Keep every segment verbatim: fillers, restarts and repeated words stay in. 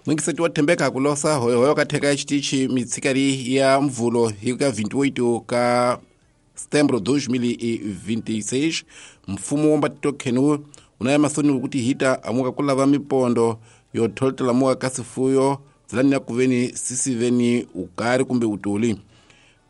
Mwingiseti wa Thembeka kulosa hoyohoyo katheka xitichi mitsikari ya mvulo hi ka vinte e oito ka setembro dois mil e vinte e seis. Mfumo wa mbatitokhenu unaya masoni kuti hita amuka kulava mipondo yo tholotela muka ka sifuyo dzilani ya kuveni sisiveni ukari kumbe utuli.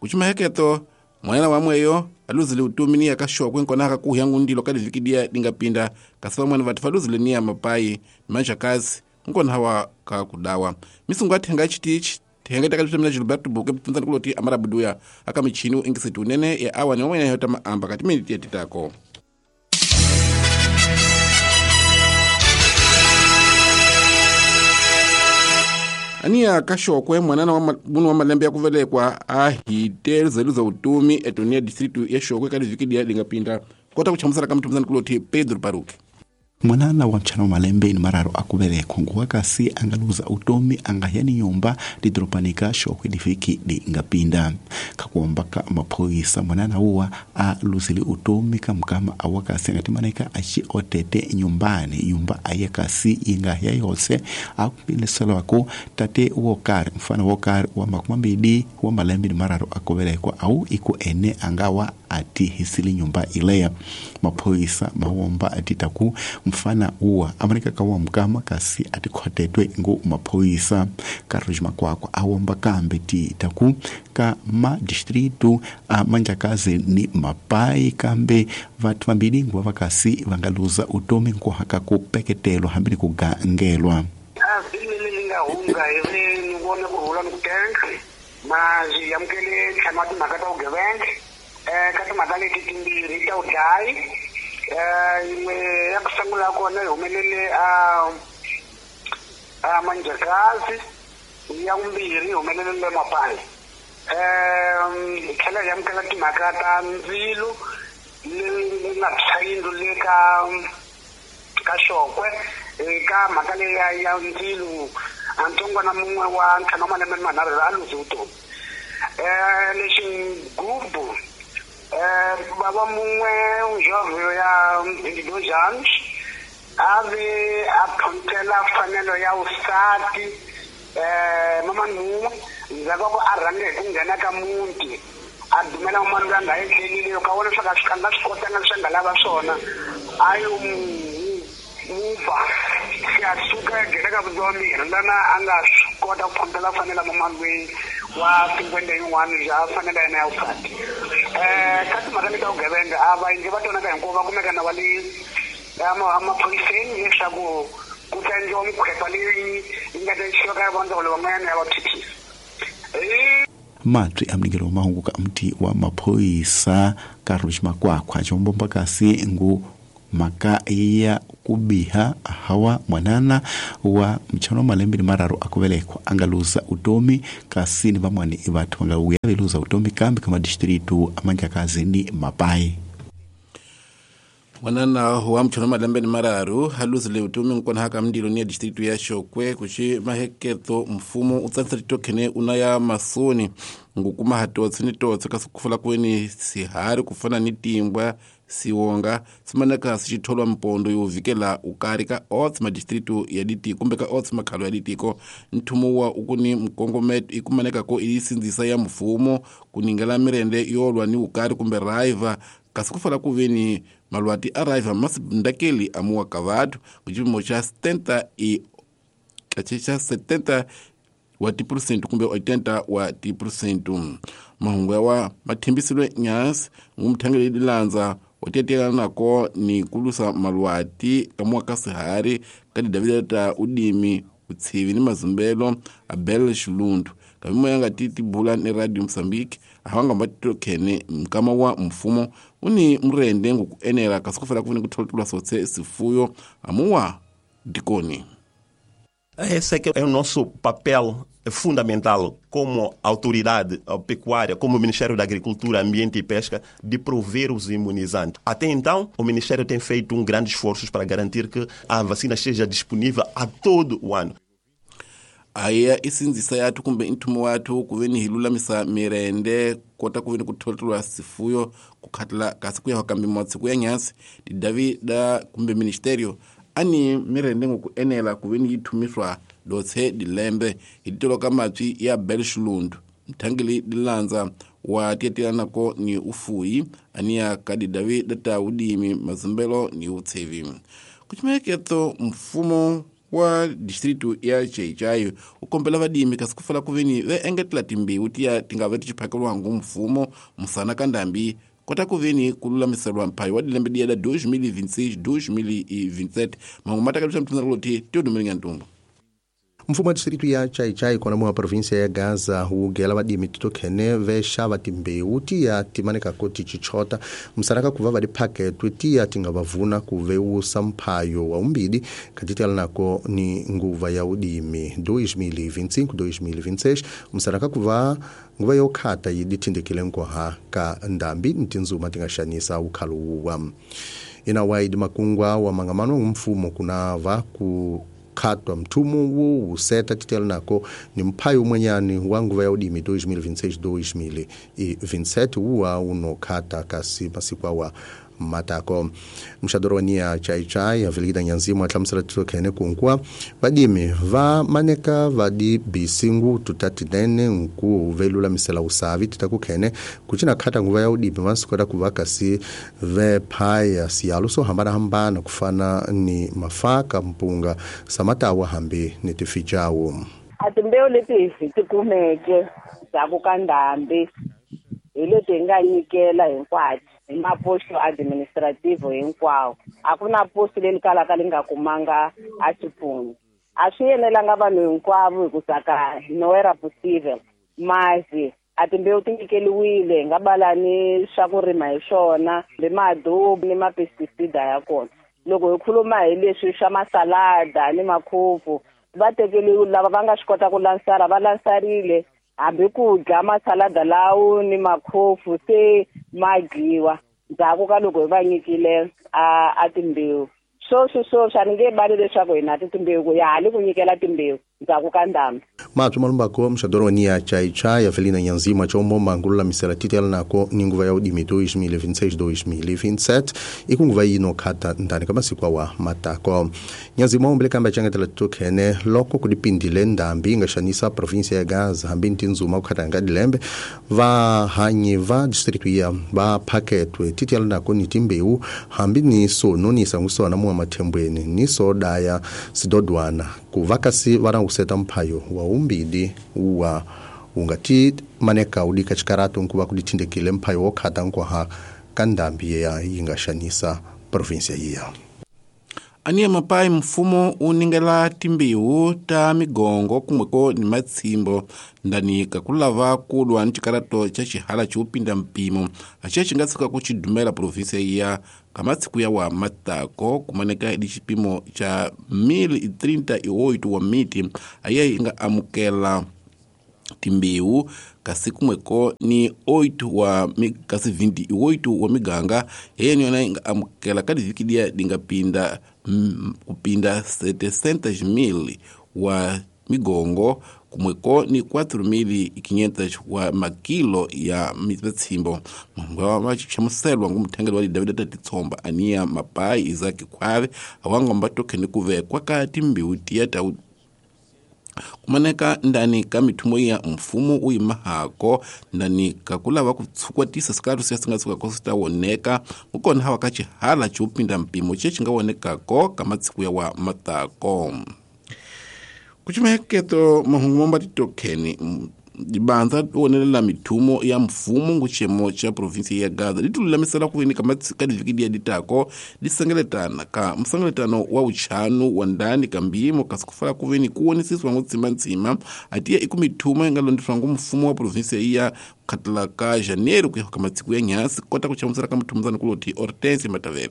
Kuchimaheketo mwanana wamweyo aluzile utumi niya kaxokwe nkonaka kuhya ngundilo ka liviki dia dingapinda, kasi vamwani vati valuzile niya mapayi ni manjakazi nkona hawa ka kudawa. Misungu athenga xitichi thenga takalipitamina Gilberto Buke pfunzani kuloti amarabuduya aka michini uingiseti unene ya awa ni wamwene yota maamba kati miniti yatitako. Aniya kaxokwe mwanana wa munu wa malembe ya kuvelekwa a hite zeluza utumi etonia distritu ya Xokwe ka liviki dia lingapinda. Kota kuchamusela ka mtumzani kuloti Pedro Paruki. Mwanana wa mchana wa malembe ni mararo akuvelekwa nguwa kasi angaluza utomi angahya nyumba lidoropanika Xokwe liviki lingapinda. Kakuombaka maphoyisa, mwanana uwa aluzile utomi kamkama awakasi angatimaneka aci otete nyumbani nyumba aye kasi ingahya yose. Akupileselwako tate wokari mfano wokari wa makumi mambili wa malembe ni mararo akuvelekwa au iku ene angawa atihisile nyumba ileya. Maphoyisa mawomba atitaku mfana uwa amaneka kawa mkama kasi atikhotetwe ngu maphoyisa. Carlos Makwakwa awomba kambe ti taku ka ma distrito a Manjakazi ni Mapai kambe vathu vambili nguva vakasi vangaluza utomi nkuhaka kupeketelwa hambi ni kugangelwa. A vhiki leri nga hundza hi ve ni vone ku rhula ni ku tenga ma swi amukele ntlhanu wa timhaka ta vugevenga. um ka timhaka leti timbirhi ta vudlayi, um yin'we ya ku sungula kona yi humelele a a Manjakazi, ya vumbirhi yi humelele le Mapai. um hi tlhela hi amukela timhaka ta ndzilo leri nga tshwa yindlu le ka ka Xokwe. Eka mhaka leyi ya ya ndzilo, a ntsongwana mun'we wa ntlhanu wa malembe manharhu a luze vutomi. um lexi gubu, um bava mun'we jovhe ya vinte e dois anos a ve a phonthela mfanelo ya vusati um mamani mun'we ndzhaku ka ku a rhange hi ku nghena ka muti a dumela mamani loyi a nga etlelile loko a vona leswaku a nga swi kotanga leswi a nga lava swona a yo muba se a suka a nghena ka vutomi lana a nga swi kota ku phonthela fanela mamani loyi wa cinquenta yin'wana bya fanela yena ya vusati. um ka timhaka leti ta vugevenga, a va va twanaka hinkwavo va kumeka na va le emaphoyiseni leswaku ku ta endliwa mikhwepa leyi yi nga ta yisiwa ka vandzawulo van'wanyana ya va phyuphisa. Matwi amnikelo wa mahungu ka mti wa maphoyisa Carlos Makwakwa chombomba kasi ngu maka ya kubiha hawa mwanana wa mchano malembe ni mararu akuvelekwa angaluza utomi kasi ni vamwani vathu vangauya veluza utomi kambi kama distritu amanjakazi ni Mapai. Mwanana wa mchano malembe ni mararu haluzile utomi nkona haka mndilo ni ya distritu ya Xokwe. Kuxi maheketo mfumo utsanisa titokhene unaya masoni ngukuma hatotsi ni totsi kasi kufula kweni sihari kufana ni timbwa siwonga simaneka sixitholwa mpondo yo vikela ukari ka otsi madistritu ya ditiko kumbe ka otsi makhalo ya ditiko. Nthumo wa ukuni mkongometo ikumaneka ko isindzisa ya mfumo kuningela mirende yolwa ni ukari kumbe raiva kasi kufala kuveni malwati a raiva masindakeli amuwa ka vathu kucipimo xa setenta e xa setenta wa tiphurosente kumbe oitenta wa tiphurosente. Mahungu yawa mathembisiwe nyasi ngumthangeli dilandza wa nako ni kulusa malwati kamuwa ka sihari ka didavida ta udimi utsivi ni mazumbelo Abel Xilundu kamimo yanga ti tibula ni Radio Mozambique ahawanga mbatitokhene mkama wa mfumo uni murende ngukuenela kasi kufela kuveni kutholotulwa sotse sifuyo amuwa dikoni. Esse é, que é o nosso papel fundamental como autoridade pecuária, como Ministério da Agricultura, Ambiente e Pesca, de prover os imunizantes. Até então, o Ministério tem feito um grande esforço para garantir que a vacina esteja disponível a todo o ano. Aya isindzisa yathu kumbe nthumo wathu kuveni hi lulamisa mirende kota kuveni kutholotolwa sifuyo kukhatala kasi kuya kambe matsiku ya nyasi didavi da kumbe ministerio Ani mirende ngoku enela kuveni yi thumiswa dotse dilembe hi titolo matswi ya Belshulundu mthangeli dilandza wa tietelanako ni ufuyi aniya kadidavi data udimi mazumbelo ni utsevi. Kuchimeketo mfumo wa distritu ya Chaichai ukombela vadimi kasi kufala kuveni ve engetela timbewu tiya tingava tichiphakelwangu mfumo musana kandambi kota kuveni kululamiselwa mphayo wa dilembe diya da dois mil e vinte e seis dois mil e vinte e sete mangu matakaluxa mthunzaloti tiodumelinga ntumbu. Mfumo wa distrito ya Chaichai kona mwa província ya Gaza wugela vadimi titokhene vexava timbewu tiya timanekako tichichota musaraka kuva va diphaketwe tiya tinga vavuna ku vewusa mphayo wa umbili katitelanako ni nguva ya udimi dois mil e vinte e cinco dois mil e vinte e seis musaraka kuva nguva yo khata yi dithindekile nkoha ka ndambi ni tindzuma ti nga xanisa ukhalo wuwa. Ina waidi makungwa wa mangamano mfumo kunava ku khatwa mthumu wu wuseta titelanako ni mphayo umwenyani wa nguva ya udimi dois mil e vinte e seis dois mil e vinte e sete wuwa unokhata kasi masiku awa matako. Mxadorwania Chaichai avelekita nyanzimu atlamusela titokhene kunkwa vadimi va maneka vadi bisingu tutatinene nku velulamisela usavi titakukhene kucina khata nguva ya udimi vasikota kuva kasi vephaya siyalo so hambanahambana kufana ni mafaka mpunga samatawa hambi ni tifijawo. A timbewu leti hi ti kumeke ndzhaku ka ndhambi hi leti hi nga nyikela hinkwato hi maposto administrativo hinkwawo. A ku na posto leri kalaka li nga kumanga a xipfuno. A swi yenelanga vanhu hinkwavo hi ku saka no era possível, mas a timbewu ti nyikeliwile hi nga bala ni swa ku rima hi swona ni madobi ni mapesticida ya kona. Loko hi khuluma hi leswi swa masalada ni makhufu va tekeliwe lava va nga swi kota ku lansara va lansarile hambi ku dya masalada lawo ni makhofu se ma dyiwa ndzhaku ka loko hi va nyikile a a timbewu. Sweswi sweswi a ni nge bali leswaku hi na ti timbewu ku ya ha le ku nyikela timbewu ndzhaku ka ndhambi. Matswi malumbako mxadorwania Chaichai Avelina Nyanzima chombo mangululamisela titelanako ni nguva ya udimi dois mil e vinte e seis dois mil e vinte e sete ikunguva yino khata ndani ka masiku awa matako. Nyanzima umbele kamba changetela titokhene loko kudipindile ndhambi inga xanisa província ya Gaza hambi ntindzuma kukhata nga dilembe vahanyi va distrito ya va phaketwe titelanako ni timbewu hambi ni sononisa ngusona muwa mathembweni ni sodaya sidodwana kuva kasi va useta mphayo wa umbili wa ungati maneka udika chikarato nkuva kudithindekile mphayo wo khata nkwaha ka ndhambi ya yi nga xanisa província yiya. Aniya mapai mfumo uningela timbewu ta migongo kumweko ni matsimbo ndani kakulava kulwa ni chikarato cha xihala chiupinda mpimo aciya xi nga tshuka ku xidumela província ya kamatsiku ya wa matako kumaneka idi xipimo cha mil e trinta e oito wa miti aye yi nga amukela timbewu kasi kumweko ni oito wa kasi vinte e oito wa miganga yena yona yi nga amukela ka divhiki diya di nga pinda kupinda setecentos mil wa migongo kumweko ni quatro mil e quinhentos wa makilo ya mitsimbo. Mangwa chamuselwa ngumthengeli wa David Tatitsomba aniya mapai Isaac Khwave awangomba tokhene kuvekwa ka timbewu tiya ta kumaneka ndani ka mithumo ya mfumo uyimahako ndani kakulava kutsukwatisa sikalo siya singa tshuka swi ta woneka kukona hawa ka xihala chiupinda mpimo che xi nga wonekako ka matsiku ya wa matako. Kuchimeketo mahungu momba titokheni dibandza wonelela mithumo ya mfumo nguchemo cha província ya Gaza litululamisela kuveni ka ka divhiki diya ditako disengeletana ka msengeletano wa uchanu wa ndani ka mbimo kasi kufala kuveni kuwonisiswa ngutsimbatsima atiya iku mithumo yi nga londiswa ngu mfumo wa província ya khatela ka janeiro kuya ka matsiku ya nyasi kota kuchamusela ka muthumuzana kuloti Hortense Matavele.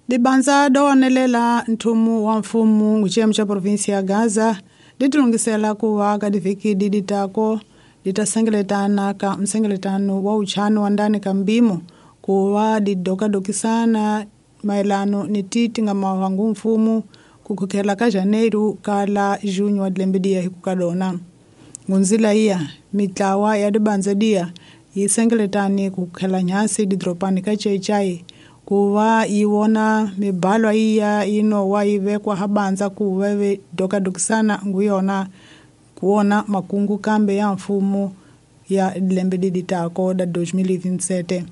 Dibandza dowonelela nthumu wa mfumo nguchemo cha província ya Gaza litilungisela kuva ka divhiki ditako litasengeletana ka msengeletano wa uchano wa ndani ka mbimo kuva didokadokisana maelano ni titi nga mawangu mfumo kukhukhela ka janeiro kala junho wa dilembe diya hi kukadona. Ngunzila iya mitlawa ya dibandza diya yi sengeletani kukhukhela nyasi didropani ka Chaichai ku va yi vona mibalwa iya yi nowa yi vekwa habanza ku va ve dokadokisana ngu yona kuona makungu kambe ya mfumo ya lembe liditako da dois mil e vinte e sete.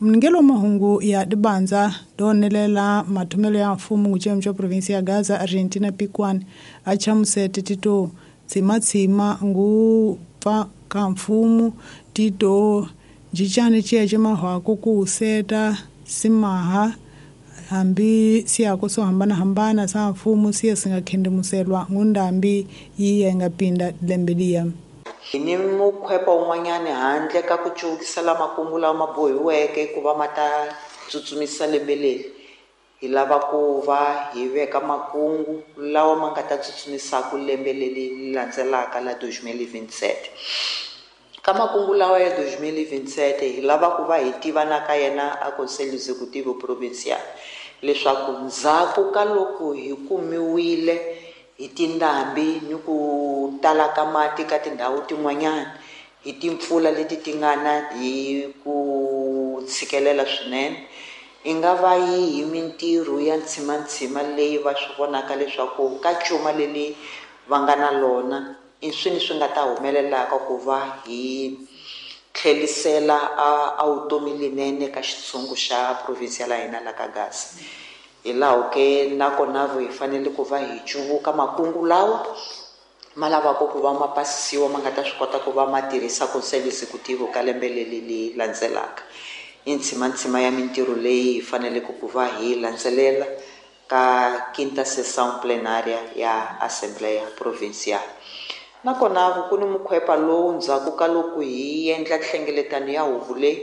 Mningelo mahungu ya dibanza donelela mathomelo ya mfumo nguchemu cha provinsia ya Gaza Argentina Pikwan achamusete tito tsima-tsima ngu pfa ka mfumo tito jichane chiya mahwako ku seta simaha hambi siyako so hambana hambana sa mfumo siya singakhendimuselwa ngundambi yiye ngapinda lembe liya. Ni mukhwepa un'wanyani handle ka ku cuvukisela makungu lawa ma bohiweke ku va ma ta tsutsumisa lembe leri hi lava ku va hi veka makungu lawa ma nga ta tsutsumisaka lembe leri landzelaka la dois mil e vinte e sete. Ka makungu lawa ya dois mil e vinte e sete hi lava ku va hi tiva na ka yena a Conselho Executivo Provincial leswaku ndzhaku ka loko hi kumiwile hi tindhambi ni ku tala ka mati ka tindhawu tin'wanyana hi timpfula leti ti nga na hi ku tshikelela swinene i nga va yi hi mintirho ya ntshimantsima leyi va swi vonaka leswaku ka cuma leli va nga na lona i swini swi nga ta humelelaka ku va hi tlhelisela a a vutomi linene ka xitshungu xa province ya hina la ka Gaza. Hi laho ke nakona hi fanele ku va hi cuvuka makungu lawa ma lavaka ku va ma pasisiwa ma nga ta swi kota ku va ma tirhisa Conselho Executivo ka lembe leri leri landzelaka. I ntshimantsima ya mintirho leyi hi faneleke ku va hi landzelela ka quinta sessão plenária ya Assembleia Provincial. Nakona ku ni mukhwepa lowu ndzhaku ka loko hi endla nhlengeletano ya huvo leyi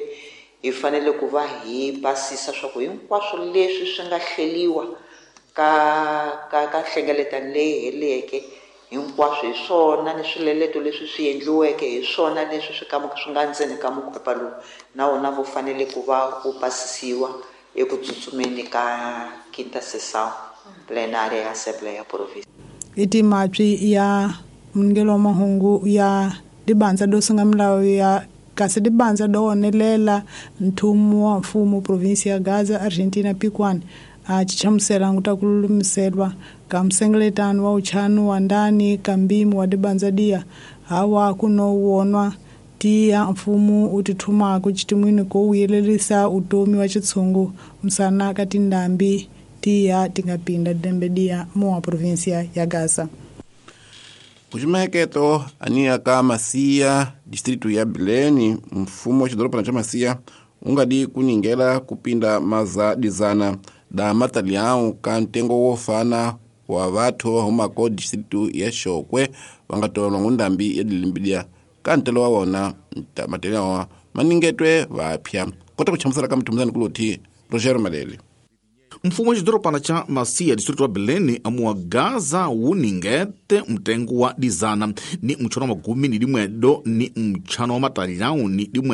hi fanele ku va hi basisa swa ku hinkwaswo leswi swi nga hleliwa ka ka ka nhlengeletano leyi heleke hinkwaswo hi swona ni swileleto leswi swi endliweke hi swona leswi swi ka swi nga ndzeni ka mukhwepa lowu na wona wu fanele ku va wu pasisiwa eku tsutsumeni ka quinta sessão plenária ya Assembleia Provincial. I timatswi ya mningelo wa mahungu ya dibanza do singa milawu ya kasi dibanza do onelela nthumo wa mfumo provinsia ya Gaza Argentina Pikwan a chichamusela nguta kululumiselwa ka msengeletano wa uchanu wa ndani kambimu wa dibanza dia hawa kuno wonwa tiya mfumo utithumako chitimwini ko uyelelisa utomi wa chitsungu msana ka tindambi tiya tingapinda dembe dia mo wa provinsia ya Gaza. Kuchimaheketo ania ka Masia distritu ya Bileni mfumo wa xidorobana xa Masia ungadi kuningela kupinda maza dizana da matalião ka ntengo wo fana wa vathu va humako distritu ya Xokwe va nga tolwa ngundambi ya dilimbidia ka ntelo wa wona matalião maningetwe vapya kota ku chamusela ka mthumuzani kuloti Roger Malele. Mfumo wa xidorobana xa Masia distritu wa Bileni amuwa Gaza wuningete mtengo wa dizana ni mchano wa magumi ni limwedo ni mchano wa matalião ni limwe